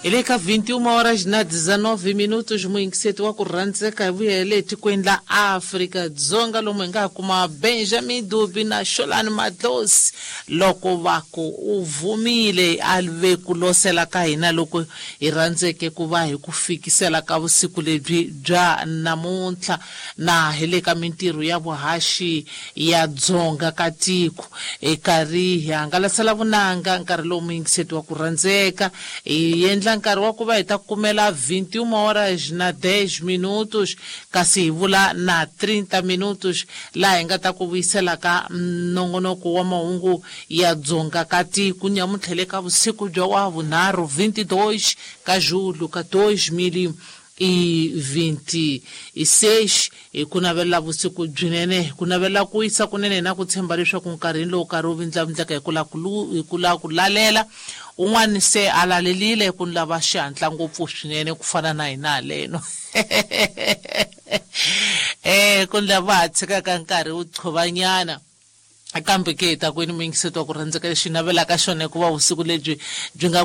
Hi le ka 21 horas na 19 minutos muyingiseti wa ku rhandzeka hi vuyele etikweni la Afrika-Dzonga lomu hi nga ha kuma Benjamin Dubi na Xolani Madlosi loko va ku u vumile a ve ku losela ka hina loko hi rhandzeke ku va hi ku fikisela ka vusiku lebyi bya namuntlha na hi le ka mintirho ya vuhaxi ya dzonga ka tiko hi karhi hi hangalasela vunanga nkarhi lowu muyingiseti wa ku rhandzeka hi endla nkarhi wa ku va hi ta kumela 21 horas na 10 minutos kasi hi vula na 30 minutos laha hi nga ta ku vuyisela ka nongonoko wa mahungu ya dzonga ka tiko nyamuntlha le ka vusiku bya wa vunharhu 22 ka julho ka 2026. Hi ku navelela vusiku byinene, hi ku navelela ku wisa kunene na ku tshemba leswaku nkarhini lowu karhi wu vindlavindlaka hi ku la ku hi ku lava ku lalela un'wana se a lalelile ku ni lava xihatla ngopfu swinene ku fana na hina haleno ku ni lava ha tshikaka nkarhi wu qhuvanyana. Kambe ke hi ta kwini muyingiseti wa ku rhandzeka, lexi hi navelaka xona hikuva vusiku lebyi byi nga